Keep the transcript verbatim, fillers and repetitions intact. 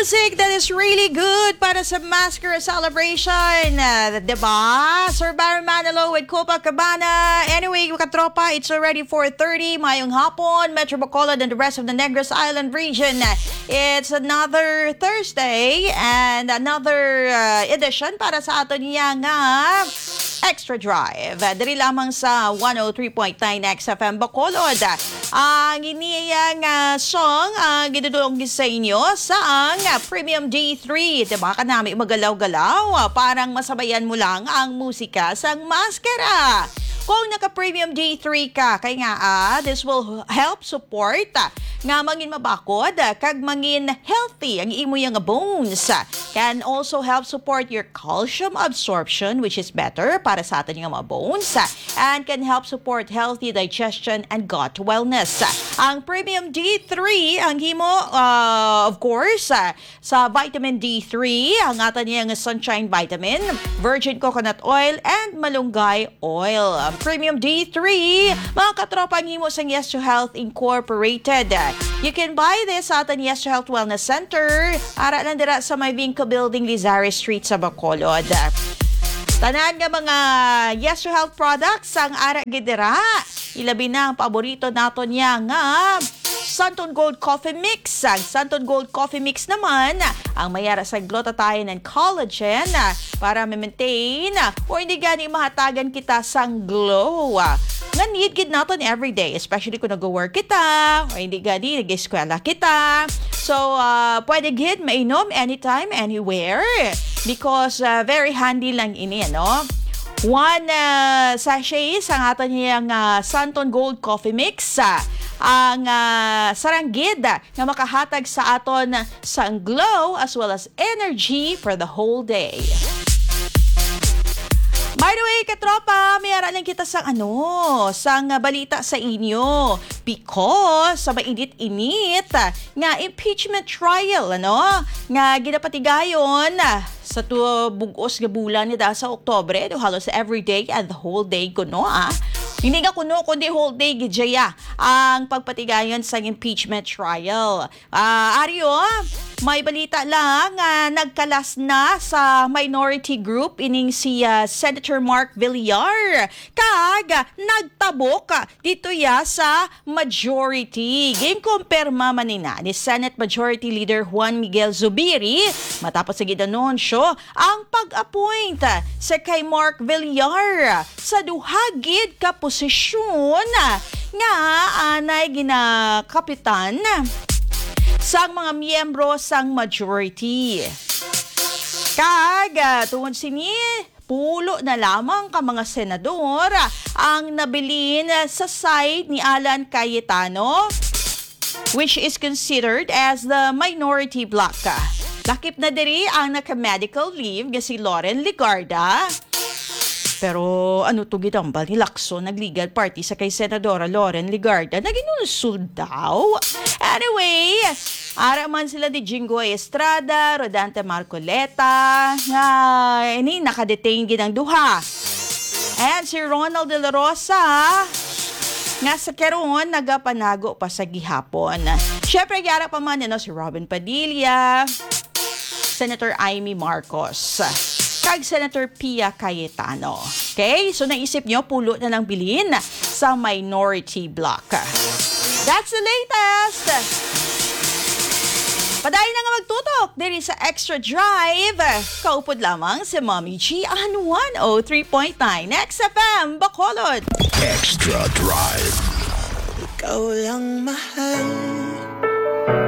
Music that is really good para sa Maskara celebration. Uh, diba? Sir Byron Manalo with Copacabana. Anyway, katropa, it's already four thirty. Mayong hapon, Metro Bacolod and the rest of the Negros Island region. It's another Thursday and another uh, edition para sa aton niya nga Extra Drive. Diri lamang sa one oh three point nine X F M Bacolod. Ang iniyang ah, song ang gidudulong sa inyo sa ang ah, Premium D three. Diba ka nami magalaw-galaw? Ah, Parang masabayan mo lang ang musika sang Maskara. Kung naka-Premium D three ka, kay nga ah, this will help support ah, nga mangin mabakod ah, kag mangin healthy ang imo nga bones. Can also help support your calcium absorption, which is better para sa aton nga mga bones, ah, and can help support healthy digestion and gut wellness. Ang Premium D three ang himo, ah, of course, ah, sa vitamin D three, ang aton niya nga sunshine vitamin, virgin coconut oil, and malunggay oil. Ang Premium D three, mga katropa, ang himo sang Yes to Health Incorporated. You can buy this sa aton Yes to Health Wellness Center. Ara lang dira sa may Vinco Building, Lizares Street sa Bacolod. Tanan nga mga Yes to Health products ang ara gid dira. Ilabi na ang paborito naton niya nga Santon Gold Coffee Mix. Ang Santon Gold Coffee Mix naman ang may ara sa glutathione and collagen para ma-maintain o hindi gani mahatagan kita sang glow nga need gid naton everyday, especially kung nag-work kita o hindi gani nag-eskwela kita. So, ah, pwede gid mainom anytime, anywhere because ah, very handy lang ini, ano? One ah, sachet sa aton niya nga Santon Gold Coffee Mix ah, ang ah, saranggid nga makahatag sa aton sang glow as well as energy for the whole day. By the way, katropa, may ara lang kita sang ano, sang ah, balita sa inyo because sa mainit-init ah, nga impeachment trial, ano, nga ginapatigayon ah, sa tu bug-os nga bulan ni da sa Oktubre, do halos every day and the whole day kuno, ah. Hindi nga kuno, kundi whole day gid siya ang pagpatigayon sang impeachment trial. Ah, Ario, may balita lang nga nagkalas na sa minority group ining si ah, Senator Mark Villar kag nagtabok dito ya sa majority. Ginkumpirma man ina ni Senate Majority Leader Juan Miguel Zubiri matapos sa gid-anunsyo ang pag-appoint sa kay Mark Villar sa duha gid ka posisyon nga anay ginakapitan sang mga miyembro sang majority. Kag ah, tungod sini, pulo na lamang ka mga senador ang nabilin sa side ni Alan Cayetano, which is considered as the minority bloc. Lakip na diri ang naka-medical leave nga si Loren Legarda. Pero ano to gitambal ni Lacson, nag-legal party sa kay Senadora Loren Legarda? Naginulsol daw? Anyway, ara man sila ni Jinggoy Estrada, Rodante Marcoleta, nga ini nakadetain gid ang duha. And si Ronald De La Rosa, nga sa karon nagapanago pa sa gihapon. Syempre, yara pa man, ano, si Robin Padilla, Senator Imee Marcos, kag Senator Pia Cayetano. Okay? So, naisip nyo, pulo na lang bilin sa minority bloc. That's the latest! Padayon na nga magtutok diri sa Extra Drive. Kaupod lamang si Mommy G on one oh three point nine X F M Bacolod. Extra Drive. Ikaw lang mahal.